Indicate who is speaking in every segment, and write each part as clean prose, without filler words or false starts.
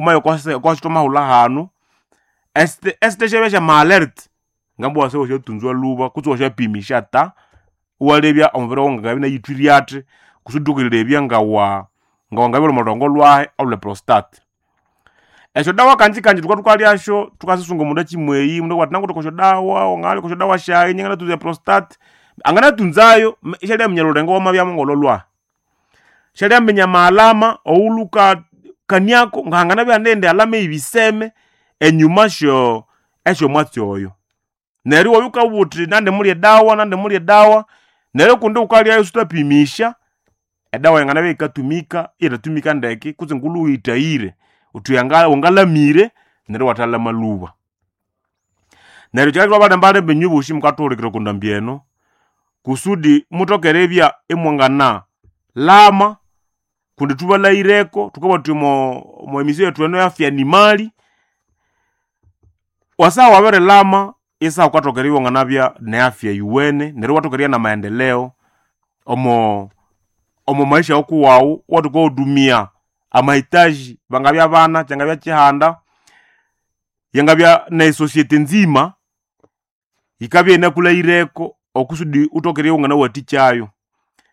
Speaker 1: Okositwamahulha hanu esite syabya syama-alert ngamba wase wasyatunzwa lhuba kutse wasyapimisya ta iwalebya omubiri wawu ngangabya inayithwire athi kusudi wukalebya ngawa ngawangabya omo lhurongo lwahi olwe prostate. Esyodawa kanji thukabya thukalyasyo thukasisunga omundu akimweyi omundu akabugha athi nangwithe okwasyodawa wanganalya okwasyodawa syayi ingye nganatunza eprostate. Anganatunzayo isyaliaminya olhulengo wamabyamu ngolholwahi. Syaliaminya amaalama owulhukakaniako ngahanganabya ihane eyindi alama eyibiseme enyuma syo esyomwatsi oyo. Neryo iwabya wukabugha wuthi nandimulya edawa nandimulya edawa, neryo kundi wukalyayo iswuthapimisya, edawa yanganabya yikatumika iyithatumika ndeke kutse ngulhu wuyithahire wuthi wangalamire neryo iwathalama lhuba. Neryo kyikabya ithwabalembalemba inywe bosi mukathuhulikirira oko ndambi eno kusudi muthoke eribya imwangana lama kundi thubalhaghireko thukabugha thuthi omo emission yethu eno afya ni mali, wasaha wabirilama isaha wukathoka eribya iwanganabya ne afya yuwene neryo iwathoka eribya namaendeleo omo omo maisha wukuwawu iwathoka erihudumia amahitaji bangabya bana, kyangabya kyihanda, yangabya ne society nzima yikabya inakulhaghireko okusudi wuthoke eribya iwanganawathikyayo.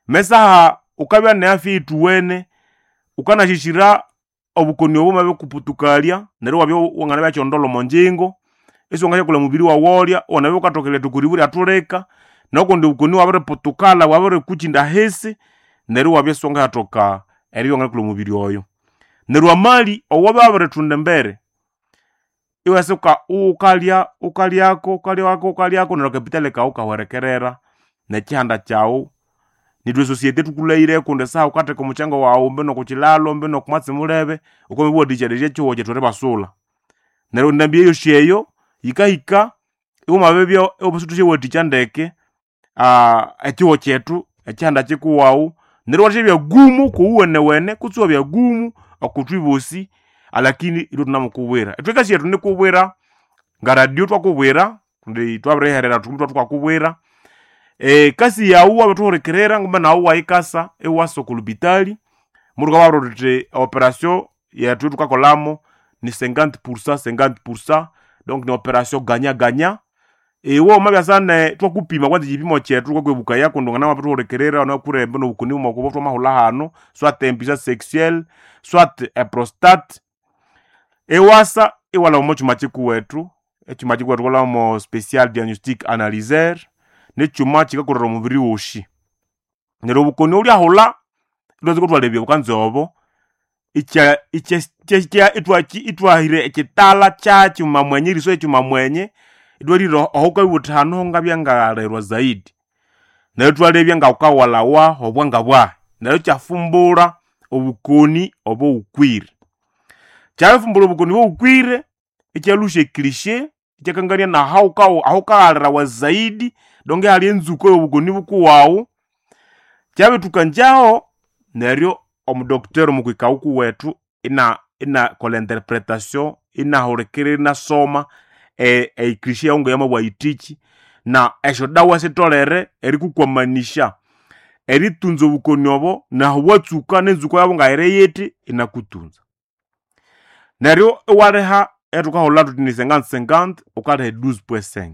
Speaker 1: Mesaha wukabya ne afya eyithuwene wukanasyisyira obukoni obo bwamabikuputukalya neryo iwabya wanganabya kyondolho omonjingo isiwangasyakolha omubiri wawu olya iwanabya wukathoka eriletha okwa ribu ryathulika nokundi obukoni ibwabiriputukala bwabirikukyinda ahisi neryo iwabya isiwangasyathoka eribya wanganakolha omubiri oyo. Neryo amali owabya wabirithunda embere iwasuka wukalya wukalyako wukalyako wukalyako neryo akapitali kawu ikahwerekerera nekyihanda kyawu. Nithwe esociety thukulhaghire kundi esaha wukatheka omukyango wawu mbi nokukyilhalo mbi nokumwatsi mulebe wukabya ekyihugho kyethu eribasula. Neryo endambi eyosi eyo yikahika iwamabibya isithusyawathikya ndeke ekyihugho kyethu ekyihanda kyikuwawu neryo iwathasyabya gumu kuwuwenewene kutse iwabya gumu okuthwi bosi alakini ithwe thunamukubwira. Ithwe ekasi yethu nikubwira nga radio thwakubwira kundi thwabiriherera thuthi thwakubwira. Ekasi yawu wabithuhulikirira ngumbe nawu iwayikasa iwasa oko lupitali muthukababwira thuthi operation yethu thukakolhamu ni 50% 50% donc ni operation gagnant gagnant. Iwe wamabyasa ne thwakupima kwanza ekyipimo kyethu thukakwebukaya kundi wangana wabithuhulikirira wanakurembe nobukoni bwomoko thwamahulha hanu soit impuissance sexuelle soit eprostate iwasa iwalhaba omo kyuma kyikuwethu, ekyuma kyikuwethu thukalhaba special diagnostic analyzer nikyuma kyikakolera omubiri wosi. Neryo obukoni obulyahulha ithwatsuka ithwalebya bukanza obo ithwahira ekyitala kyakyuma mwenye eriso ekyuma mwenye ithwalire aho wukabya wuthi hanu hongabya ngaghalirwa zaidi. Neryo ithwalebya ngawukawalhawa obwanga bwahi neryo ikyafumbura obukoni obowukwire. Kyabirifumbura obukoni obowukwire ikyalhusya ecliche ikyakangania ahawukaghalirawa zaidi donc ihali enzuko yobukoni bukuwawu. Kyabithukanjaho neryo omudocteur omukwika wukuwethu inakolha interpretation inahulikirira inasoma ecliche yawu ngayamabugha yithiki na esyodawa sitholere erikukwamanisya eritunza obukoni obo nahu bwatsuka nenzuko yabu ngayiri yithi inakutunza. Neryo iwaliha eyathukahulha thuthi ni 50-50 wukaliha 12.5.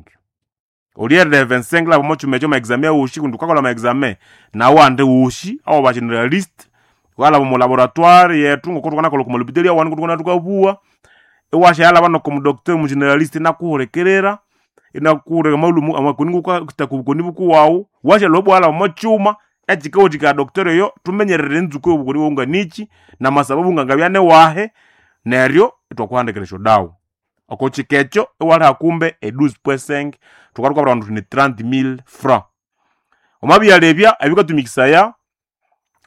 Speaker 1: Olyeriha 25 lhaba omo kyuma ekyo ama examen wosi kundi wukakolha ama examen nawandi wosi awaba generalist wukalhaba omo laboratoire yethu ngoko thukanakolha oko malhopitali awandi ngoko thukabuwa iwasyalhaba noko mudocteur omugeneralist inakuhulikirira inakuhulika amalhumu amakoni ngokukataka obukoni bukuwawu wasyalhwa ibwalhaba omo kyuma ekyikawathikaya docteur oyo thumenyerere enzuko yobukoni bwawu nganikyi namasababu ngangabya niwahi neryo ithwakuhandikira esyodawa. Oko kyika ekyo iwaliha kumbe e 12.5 thukabya thukabwira abandu thuthi ni 30,000 francs. Wamabyalebya ebikatumikisaya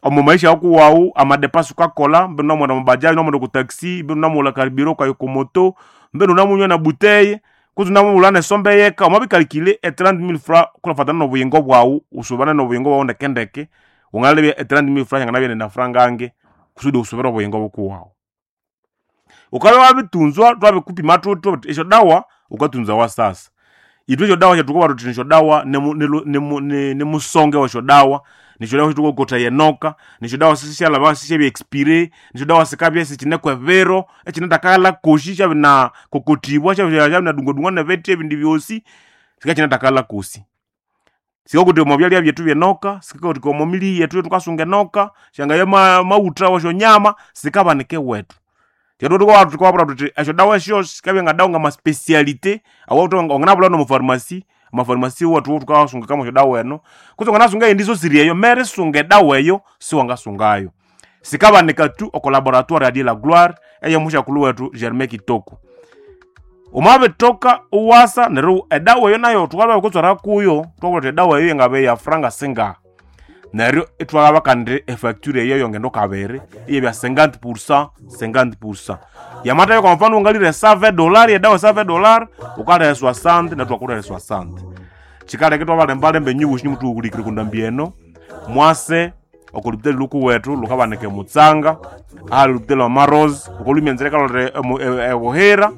Speaker 1: omo maisha wakuwawu amadepasi wukakolha mbinu wamaghenda omo bajaji wamaghenda oko taxi mbinu wamaghulha karibira wukaya oko moto mbinu wunamunywa na buteye kutse wunamughulha nesombe yeka wamabikalikile e 30,000 francs kulhafatana nobuyingo bwawu usubane nobuyingo bwawu ndekendeke wangalebya e 30,000 francs yanganabya indi nafranga ange kusudi usubire obuyingo bukuwawu. Wukabya wabitunzwa thwabikupima thuthi thuthi esyodawa wukatunzawa sasa. Itwe esyodawa syathukowa thuthi nisyodawa nimusonge wesyodawa, nisyodawa syathukokotaya enoka, nisyodawa sisyalaba sisyabya expire, nisyodawa sikabya isikineko ebiro ekinathakalha kosi syabinakokotibwa, syabinadungwadungwa nebithi ebindi byosi, sikakinathakalha kosi. Sikakotiwa omo byalya byethu byenoka, sikakotiwa omo mili yethu eyathukasunga enoka, syangaya maghutha wesyonyama, sikabanika ewethu. Thukababwira thuthi esyodawa esyo sikabya ngadawa ngamaspeciality wanganabulha nomo pharmacy, amapharmacy wethu thukasungikamo esyodawa eno, kutse wanganasunga eyindi isosiri eyo, merisunga edawa eyo siwangasungayo. Sikabanika tu oko laboratoire ya la gloire eyomusyakulhu wethu Germain Kitoko. Wamabitoka iwasa neryo edawa eyo nayo thukalwa kutswera kuyo, thwabugha thuthi edawa eyo yangabya yafuranga singaha. Neryo ithwalaba kandi efacture eyo yongendo kabiri iyabya 50%, 50%. Yamathabya kwa mfano wangalire $100 edawa $100, wukaliha 60 nethu thwakulihira 60. Kyikaleka ithwabalembalemba inywe bosi imuthuhulikire okwa ndambi eno, mwase oko lupitali lhukuwethu lhukabanika emutsanga, ahali olupitali lwa Marozi, wukalhwa enzira eyikalholera ebuhira,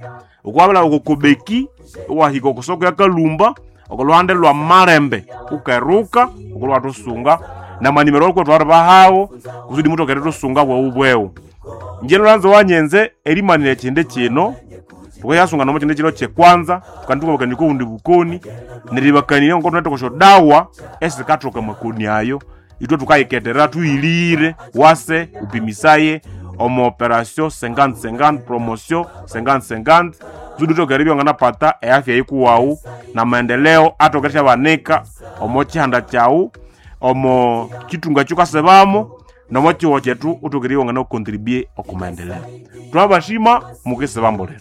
Speaker 1: wukabya oko kobeki iwahika oko soko ya Kalumba, oko lhuhande lwa Malembe wukeruka wukalhwa iwathusunga namanimero awukuwethu awaribahawo kusudi muthoke erithusunga bweghu bweghu. Ingye lhulanza wanyenze erimanira ekyindi kino, thukayasunga omo kyindi kino kyekwanza, thukandithwabakania oko bundi bukoni, neribakanirya ngoko thunawithe oko syodawa esikathoka amakoni ayo, ithwe thukayiketherera thuyilire wase wupimisaye omo operation 50-50, promotion 50-50 kusudi wuthoke eribya wanganapata eafya yikuwawu namaendeleo athoke erisyabanika omo kyihanda kyawu, omo kyithunga ekyukasibamo, nomo kyihugho kyethu wuthoke eribya wangana contribue oko maendeleo. Thwabashima mukisibambulira.